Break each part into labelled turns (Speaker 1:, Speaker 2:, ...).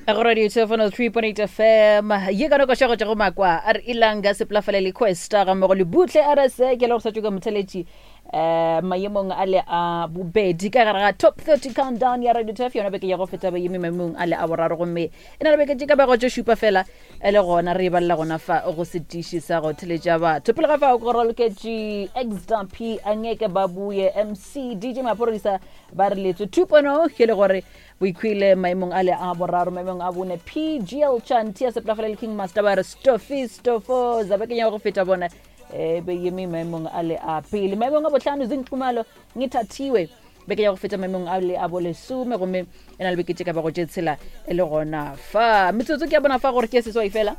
Speaker 1: Go radio 203.8 fm ye ka nako šego tša go makwa a re ilanga seplafale le questa ga mmogo le butle a re se ke le go sa tšoka motheletši um maemong a le a bobedi ka gare ga top 30 countdown ya radio tf yona beke ya go feta ba eme maemong a le a boraro gomme e na le beke tše ka bago tše šupa fela e le gona re e balela gona fa go setiši sa go theletša batho pele ga fao go raloketše xdp angeke ba buye mc dj maphodisa ba re letswe 2.0 ke le gore Boikhwile maemong a le a boraro, maemong a bone PGL Chanti ya Seplafala le King Master ba re Stofi Stofo za bekeng ya go feta bona e be yeme maemong a le a pele. Maemong a bohlano Zinqumalo Ngithathiwe beke ya go feta maemong a le a bolesome gomme e na le beke tše ka bago tše tshela e le gona fa. Metsotso ke ya bona fa gore ke seswai fela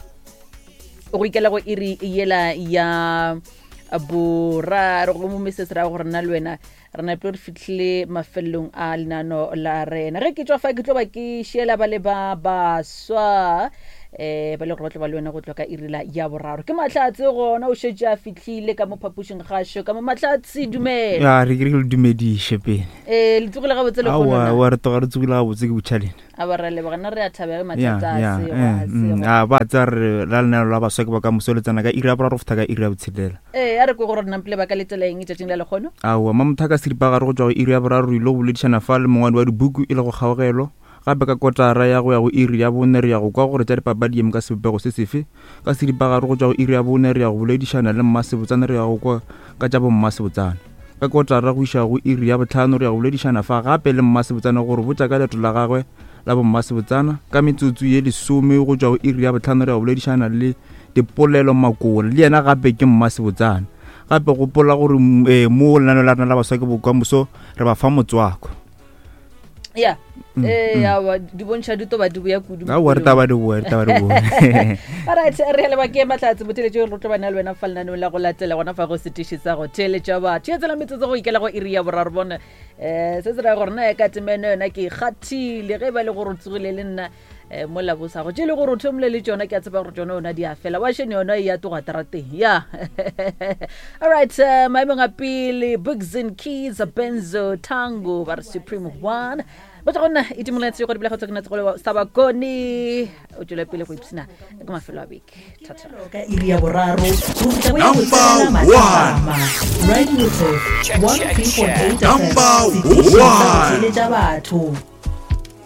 Speaker 1: go ikela go iri yela ya boraro gomme se se ra gore nna le wena Re nape re fihlile mafelelong a lenano la rena. Ge ke tšwa fa ke tlo ba ke šiela ba le ba baswa um ba le gore ba tlo ba le wena go tloga ka iri la ya boraro. Ke Mahlatse gona o šetše a fihlile ka mo phapošing gašo ka mo. Mahlatse, dumela.
Speaker 2: Ya, re ke re ke le dumediše pele.
Speaker 1: Ee, le tsogile gabotse
Speaker 2: le
Speaker 1: kgono
Speaker 2: Aowa,
Speaker 1: na?
Speaker 2: aowa, re tloga re tsogile gabotse ke botšhalena.
Speaker 1: A ba ra leboga, nna re a thabega ge
Speaker 2: Ya,
Speaker 1: mathata a
Speaker 2: ya,
Speaker 1: sego,
Speaker 2: eh,
Speaker 1: a sego.
Speaker 2: a ba tseba re la lenaneo la baswa ke bokamoso le tsena ka iri ya boraro go fihla ka iri ya botshelela.
Speaker 1: Ee, a re kwe gore re nampile ba ka letela eng tšatšing la lekgono.
Speaker 2: Aowa, Mamothaka seripagare go tšwa go iri ya boraro re ile go boledišana fa le mongwadi wa dibuku e lego Kgaogelo. Gape ka kotara ya go ya go iri ya bone re ya go kwa gore tša dipapadi di eme ka sebopego se sefe. Ka seripagare go tšwa go iri ya bone re ya go boledišana le Mmasebotsana re ya go kwa ka tša bommasebotsana. Ka kotara go iša go iri ya bohlano re ya go boledišana fa gape le Mmasebotsana go re botša ka leeto la gagwe la bommasebotsana. Ka metsotso ye lesome go tšwa go iri ya bohlano re ya go boledišana le Dipolelo Makola le yena gape ke mmasebotsana. Gape gopola gore eh, mo lenaneo la rena la baswa ke bokamoso re ba fa motswako.
Speaker 1: Ya, ee, aowa, di bontšha di toba di boya kudu.
Speaker 2: Aowa, re taba di boa, re taba di boa.
Speaker 1: Alright, re a leba ke Mahlatse motheletši re tlo ba na le wena fa lenaneong la go latela gona fa go setiši sa go theeletša batho. Ya tsela metsotso go ikela go iri ya boraro bone. Eh, se se ra gore na ka temeno yona ke ikgathile ge e ba le gore o tsogile le nna eh, mo labosago tše le gore o thomile le tšona ke a tseba gore tšona yona di a fela wa shene yona e ya toga terateng ya alright uh, maemong a pele books and keys benzo tango ba re supreme one ba tla go nna e timoletse go dibela go tswa ke natse go sa bakone o tswele pele go ipsina ka mafelo a beke thata
Speaker 3: ka iri ya boraro go fihla go ya
Speaker 4: Number
Speaker 3: botshelela
Speaker 4: one.
Speaker 3: mathapama radio tef
Speaker 4: Check, check, check.
Speaker 3: 103.8
Speaker 4: Number
Speaker 3: fm setiši sa go
Speaker 4: one.
Speaker 3: theeletša batho.